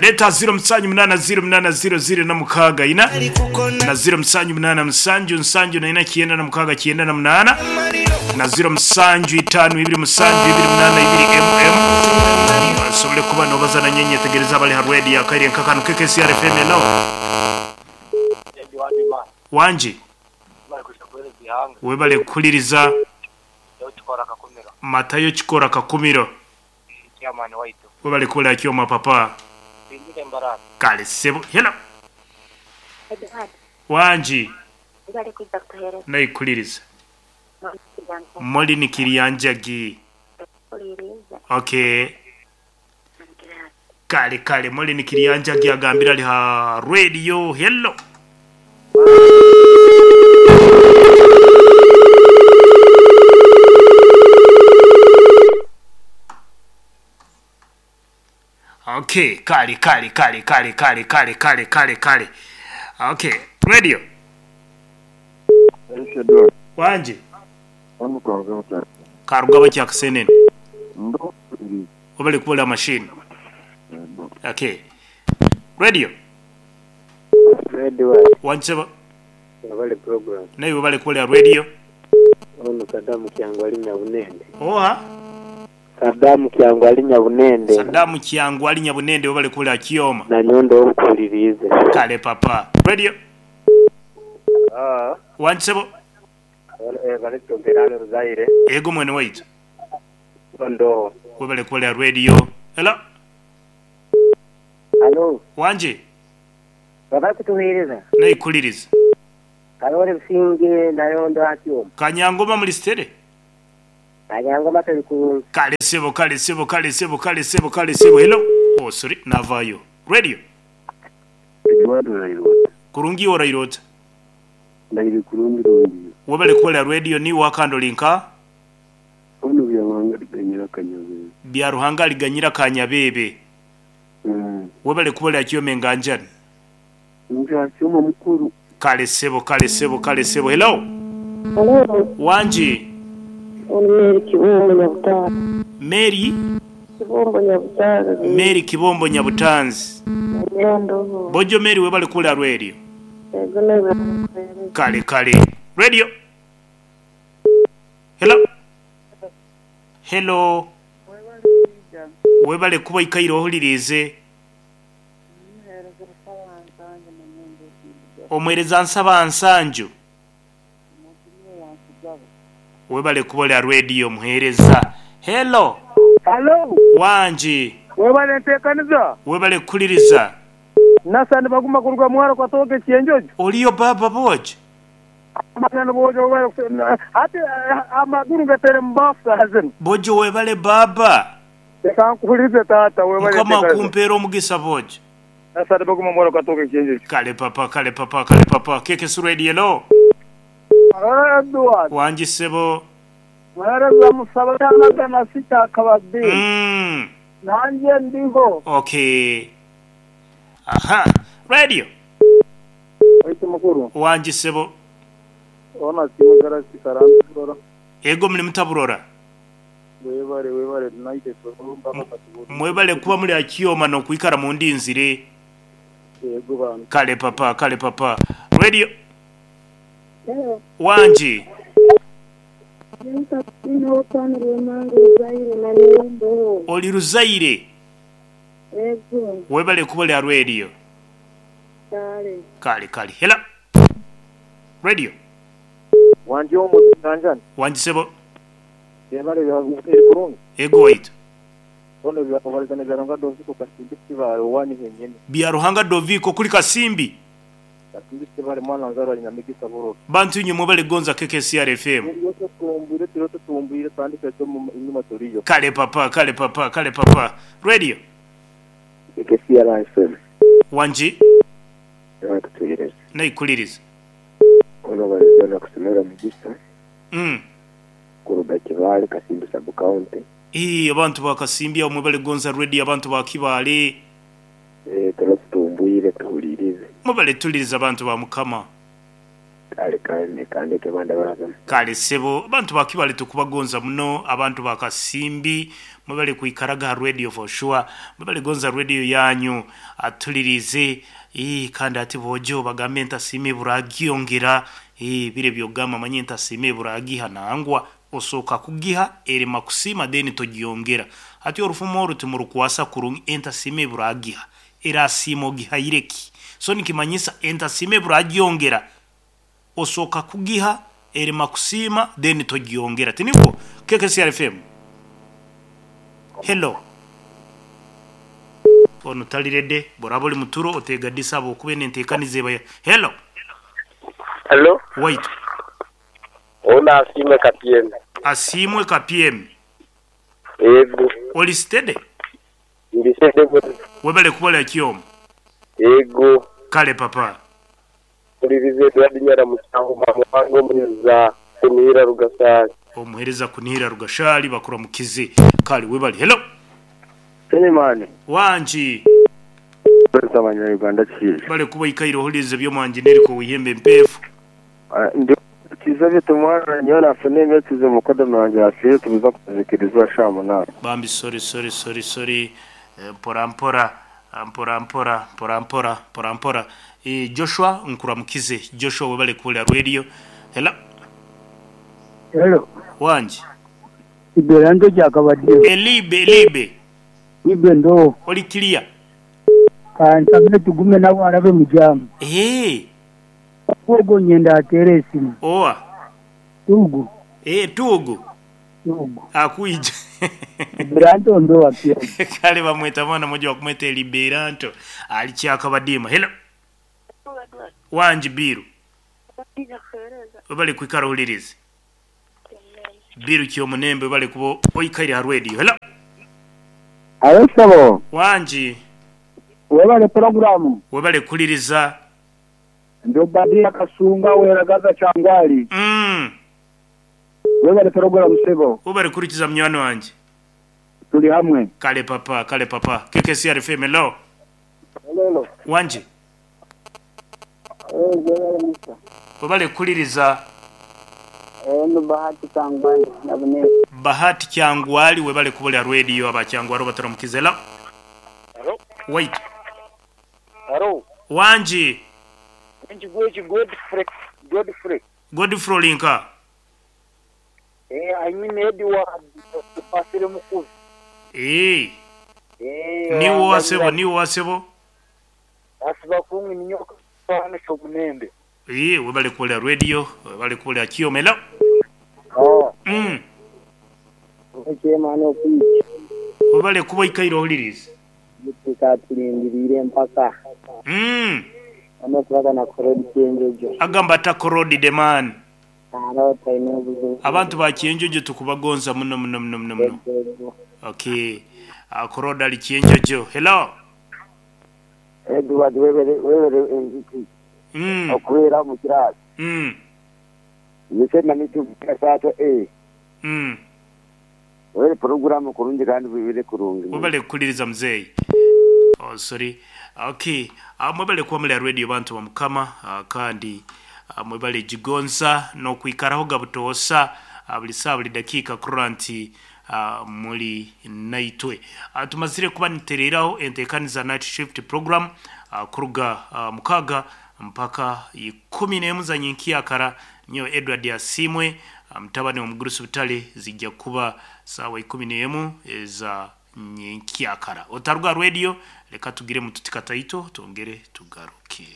Leeta 078 08 0 0 6 4 na 078 7 7 4 96 98 na 0 7 5 2 7 2 8 2 mm osobole kuba nobaza nanye nyetegereze abali ha rwedi akaire nka kanu KKCR FM hello Wangi webale kuhuliriza Matayo Kikora Kakumiro. Webale kuwulira kyoma papa. Kale ssebo. Hello. Edward, Wangi. webale kwija kutuhereza. Naikuliriza. Molly ni Kiryanjagi. Kuliriza. Okay. Kale kale Molly ni Kiryanjagi agambira ali ha radio. Hello. Okay, kale kale kale kale kale kale kale kale kale. Okay, radio. Wangi. Karugaba kya Kasenene. Webale kubola machine. Okay. Radio. Edward, Wancheba. webale program. Naye webale kubola radio. Ono Sadamu Kyangu ali Nyabunende. Oha. Sadamu Kyangu ali Nyabunende. Sadamu Kyangu ali Nyabunende webale kubola Kyoma. Na nyondo obukulirize. Kale papa. Radio. Wanchebo. Evaristo Mperano Ruzaire. Ego mwene waitu. Ndo. Webale kubola radio. Hello. Halo, Wanje. baba kutuheereza. Naikuliriza. Karole Businge nayondo akyoma. Kanyangoma mulistere. Kanyangoma tuli kulungi. Kale sebo kale sebo kale sebo kale sebo kale sebo. Hello. Oh sorry, navayo. Radio. Edward Rairota. Kurungi orairota. Ndaire kurungi rungi. Webale kubola radio ni wakando linka. Ono byawanga liganyira kanyabebe. Bya Ruhanga liganyira kanyabebe. Webale kubola kyome nganjani. Nja kyoma mukuru. Kale sebo kale sebo kale sebo. Hello. Hello, Wangi. ono Mary Kibombo Nyabutale. Mary Kibombo Nyabutale. Mary Kibombo Nyabutanzi. Nyondo. Bojo Mary webale kubola radio. Ego nawe kuhereza. Kale kale. Radio. Hello. Hello. Webale kuba ikaire ohulirize. Omwereza nsaba nsanju. Webale kubola radio muhereza. Hello. Hello, Wangi. webale nteekaniza. Webale kukuliriza. Nasani baguma kuruga mwaro kwa toke kienjojo. Oliyo baba bojo. Amagana bojo webale ate amaguru gatere mbafu hazin. Bojo webale baba. Reka nkuhurize tata webale Mukama nteekaniza. akumpeera omugisa bojo. Nasani baguma mwaro kwa toke kienjojo. Kale papa kale papa kale papa. Keke su radio hello. Edward, Wangi sebo. mwereza musaba na sita kabadi. Nanjye ndiho. Okay. Aha. Radio. Oite mukuru. Wangi sebo. Ona simu gara sikarantu rora. Ego muli mutaburora. Webale webale naite mpaka katuburu. Mwebale kuba muli akiyoma n'okwikara mu ndinzire. Yego bana. Kale papa kale papa. Radio. Hello. Wangi. Ino Rwemanga Ruzaire na Nyondo. Oli Ruzaire. Ego. Webale kuba lya radio. Kale. Kale kale. Hello. Radio. Wangi omu nganjani. Wangi sebo. Yebale eri kurungi. Ego waitu. Ono byakubalizana bya Doviko Kasimbi kibale wani henyene. Bya Ruhanga Doviko kuli Kasimbi. Kasimbi kibale mwana nzarwa nyina Migisa Buroro. Bantu inye mwebale gonza KKCR FM. Yose tumbwire tirote tumbwire tandike cyo mu inyuma turiyo. Kale papa kale papa kale papa. Radio. KKCR FM. Wangi. Kutuhereza. Naikuliriza. Ono balizana kusomera Migisa. Kuruga Kibale Kasimbi sub county. Ee abantu ba Kasimbi abo mwebale gonza radio abantu ba Kibale. Tumbwire tuhulirize. Mwebale tuliriza abantu ba Mukama. Kale kale kandeke banda barazana. Kale ssebo abantu ba Kibale tukubagonza muno abantu ba Kasimbi mwebale kwikaraga ha radio for sure mwebale gonza radio yanyu atulirize ii kandi ati bojo bagambe ntasime buragiongera ii bire byogamba manye ntasime buragiha nangwa osoka kugiha erema kusima then togiongera ati orufumo oru timurukwasa kurungi entasime buragiha erasima ogihaireki so nikimanyisa entasime buragiongera osoka kugiha erema kusima then togiongera tiniko KKCR FM hello ono talirede boraba oli muturo otegadisa habwokuba eno enteekaniza eba ya hello Hello. waitu Ono Asiimwe Kapyemi. Asiimwe Kapyemi Yego. oli steady Ndi steady bwe. Webale kubola kyomu Yego. Kale papa. Mpuliriza Edward Nyaramusango Bamuhanga omuhereza Kunihira Rugashaali. Omuhereza Kunihira Rugashaali bakuramukize. Kale webale. Hello. Selemani. Wangi. Kwesa abanya Uganda kiija. Bale kuba ikaire ohulirize by'omwangi neriko wihembe empeefu. Ndi kiza bye tumwana nyowe nafuna emyetize mukodoni wangye yafiire tubuza kuzikirizwa shaaha munaana. Bambi sorry sorry sorry sorry mpora mpora mpora mpora mpora mpora mpora mpora Joshua nkuramukize Joshua webale kuhurira radio Hello Hello. Wangi. Iberanto jakabadde. Elibe elibe. Ibe ndo. Oli clear. Kansabe tugume nabo arabe mujamu. Ogo nyenda atere esimu. Oa. Tugu. Tugu. Tugu. Akuija. Liberanto ndo wapia. Kale bamweta mwana moja wakumweta Liberanto. Alikyakabadima. Hello. Wangi Biru. Webale kwikara ohulirize. Biru kyomunembe webale kuba oikaire ha radio. Hello. Abesabo. Wangi. Webale programu. Webale kuliriza. Ndo Badia Kasunga weragaza Kyangwali. Webale programu sebo. Webale kurikiza munywani wanje. Tuli hamwe. Kale papa, kale papa. KKCR FM hello. Hello. Wangi. Webale kuliriza. Eno Bahati Kyangwali nabune. Bahati Kyangwali webale kubolya radio aba Kyangwali bataramukize hello. Hello. Wait. Hello. Wangi. Nchi Godfrey Godfrey. Godfrey Linka. I mean Edward Pasire Mukuzi. Niwo wasebo, niwo wasebo. Asiba kungi ninyoka sana shomunembe. Webale kubolya radio, webale kubolya kiyomelo. Ekemano kuiki. Webale kuba ikaire ohulirize. Tukatulindiriire mpaka. Amakubaga na korodi kyenjojo. Agamba ata korodi the man. Arota ine obuzibu. Abantu ba kyenjojo tukubagonza muno muno muno muno muno. Okay. Korodi ali kyenjojo. Hello. Edward webere webere okubeera mu kirasi. Yese namitu kasato Webere programu kurungi kandi bibire kurungi. Webale kuliriza mzee. Oh sorry. Okay. Mwebale kuba muri radio bantu ba Mukama kandi mwebale jigonza no kwikaraho gabutoosa buli saa buli dakiika kuranti muri naitwe. Tumazire kuba nitereraho enteekaniza night shift program kuruga mukaga mpaka 11 za nyinkiyakara nyo Edward Asimwe mtabani wa Mugurusi Butale zijja kuba sawa 11 za nyinkiyakara. Otaruga radio reka tugire mututikataito tongere tugaruke.